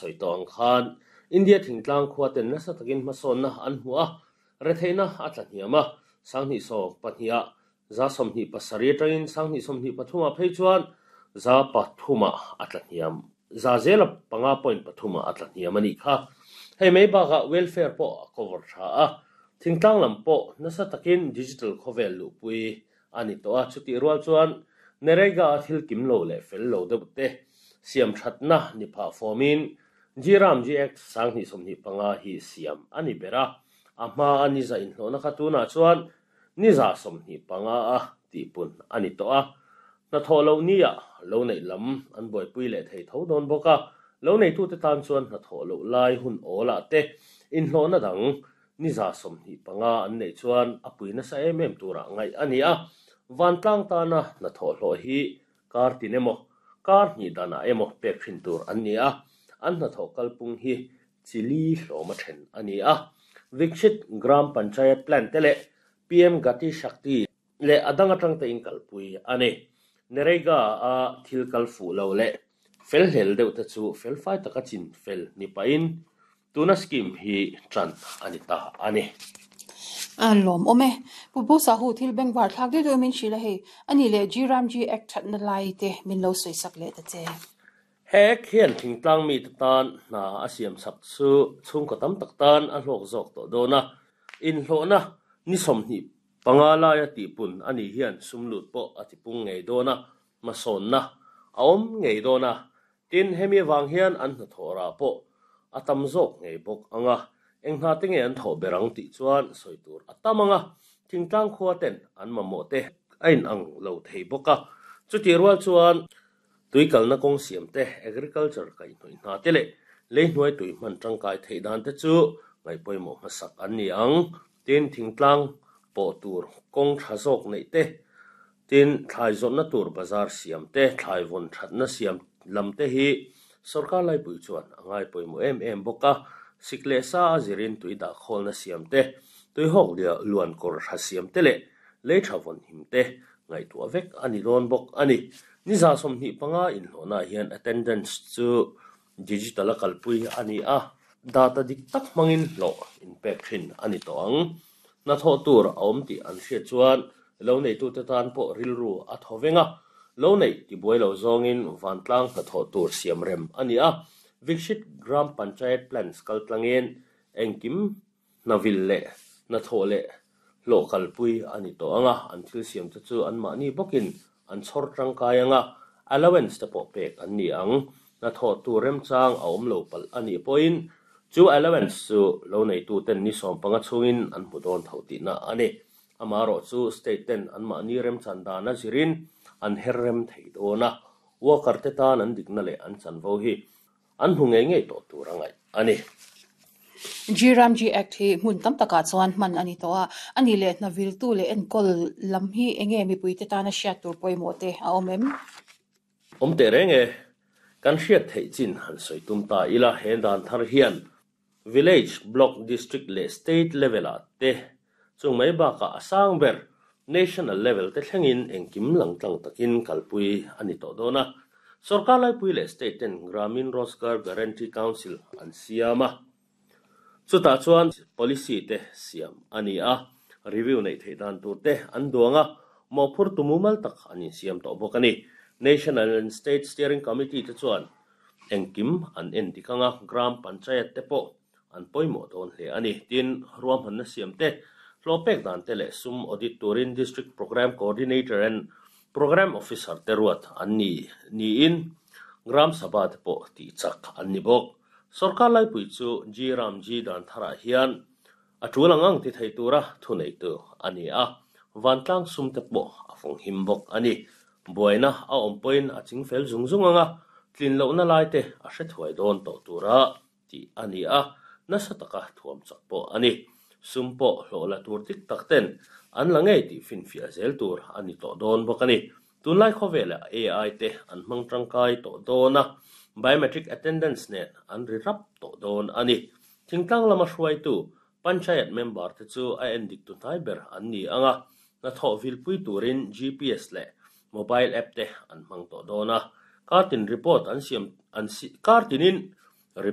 sawi tawh ang khan India thingtlang khua ten nasa takin hmasawnna an hmu a, retheihna a tla hniam a, 2012 ah 27% atangin 2023 ah phei chuan 3% ah a tla hniam, 5.3% ah a tla hniam a nih kha. Hei mai bakah welfare pawh a cover tha a, thingtlang lam pawh nasa takin digital khawvel luhpui a ni tawh a, chutih rual chuan Narega a thil kim lo leh fel lo deuh te siam thatna ni phah fawmin G-Ram G-Act 2025 hi siam a ni ber a, a hma a ni za inhlawhna kha tunah chuan ni 25 a tihpun a ni tawh a, hnathawh loh nia lo neih lam an buaipui leh thei tho dawn bawk a, lo neitute tan chuan hnathawh loh lai hun awlah te inhlawhna dang Ni 25 an neih chuan a pui nasa em em turah ngaih a ni a, vantlang tana hnathawh hlawh hi kar tin emaw, kar hnih danah emaw pek thin tur an ni a, an hnathawh kalpung hi chi li hlawm a then a ni a. Vikshit Gram Panchayat Plan te leh PM Gati Shakti leh a dang atang te in kalpui a ni. Narega a thil kal fuh lo leh fel hlel deuh te chu felfai taka chin fel ni pahin Tuna scheme hi tan a ni ta a ni. A lawmawm e. Pu Pu Sahu thil bengvar thlak deuh deuh min hrilh a hei. A nih leh G Ram G Act thatna lai te min lo sawi sak leh ta che. He Act hian thingtlang mite tan hna a siam chak chu chhungkaw tam tak tan a hlawk zawk tawh dawn a. Inhlawhna ni 25 laia tihpun a nih hian sum lut pawh a tipung ngei dawn a, hmasawnna a awm ngei dawn a. Tin, hemi avang hian an hnathawh rah pawh a tam zawk ngei bawk ang a, eng hna te nge an thawh ber ang tih chuan sawi tur a tam ang a, thingtlang khua ten an mamawh te a inang lo thei bawk a. Chutih rual chuan tui kalna kawng siam te, agriculture kaihhnawih hna te leh leihnuai tui hman tangkai theih dan te chu ngaihpawimawh hmasak an ni ang. Tin, thingtlang pawh tur kawng tha zawk neih te, Tin, thlai zawrhna tur bazar siam te, thlai vawn thatna siam lam te hi sorkar laipui chuan a ngai pawimawh em em bawk a. Sik leh sa a zirin tui dah khawlna siam te, tui hawk luan kawr tha siam te leh lei tha vawn him te ngaihtuah vek a ni dawn bawk a ni. Ni 25 inhlawhnaah hian attendance chu digital a kalpui a ni a, data dik tak hmangin hlawh inpek thin a ni tawh ang. Hnathawh tur a awm tih an hriat chuan lo neitute tan pawh rilru a thaw veng a, lo neih tibuai lo zawngin vantlang hnathawh tur siam rem a ni a. Vikshit Gram Panchayat Plans kaltlangin engkim hnavil leh hnathawh leh hlawh kalpui a ni tawh ang a, an thil siamte chu anmahni bawkin an chhawr tangkai ang a, allowance te pawh pek an ni ang. Hnathawh tur remchang a awm lo palh a nih pawhin chu allowance chu lo neituten ni 15 chhungin an hmu dawn tho tihna a ni. Amaherawh chu state ten anmahni remchan dan a zirin an her rem thei dawn a, worker te tan an dikna leh an chanvo hi an hmu ngei ngei tawh tur a ngaih a ni. G Ram G Act hi hmun tam takah chuan hman a ni tawh a, a nih leh hna viltu leh enkawl lam hi eng nge mipuite tana hriat tur pawimawh te a awm em? Awm teh reng e, kan hriat theih chin han sawi tum ta ila he dan thar hian Village, Block, District leh State level ah te chung mai bakah a sang ber National level te thlengin engkim langtlang takin kalpui a ni tawh dawn a. Sorkar laipui leh State ten Gramin Rozgar Guarantee Council an siam a. Chutah chuan policy te siam a ni a, review neih theih dan tur te an duang a, mawhphurtu mumal tak an insiam tawh bawk a ni. National and State Steering Committee te chuan engkim an en dik ang a, Gram Panchayat te pawh an pawimawh dawn hle a ni. Tin, ruahmanna siam te, hlawh pek dan te leh sum audit turin District Programme Coordinator and Programme Officer te ruat an ni niin Gram Sabha te pawh tih chak an ni bawk. Sorkar laipui chu G Ram G dan tharah hian a tul ang ang ti thei tura thuneitu a ni a, vantlang sum te pawh a fawng him bawk a ni. Buaina a awm pawhin a ching fel zung zung ang a, tlin lohna lai te a hre thuai dawn tawh tura tih a ni a, nasa taka thuam chak pawh a ni. Sum pawh hlawh la tur dik tak ten an la ngei tih finfiah zel tur a ni tawh dawn bawk a ni. Tunlai khawvelah AI te an hmang tangkai tawh dawn a, biometric attendance nen an ri rap tawh dawn a ni. Thingtlang lama hruaitu Panchayat member te chu a endik tu hnai ber an ni ang a, hnathawh vilpui turin GPS leh mobile app te an hmang tawh dawn a. Kartin report an siam an kartinin.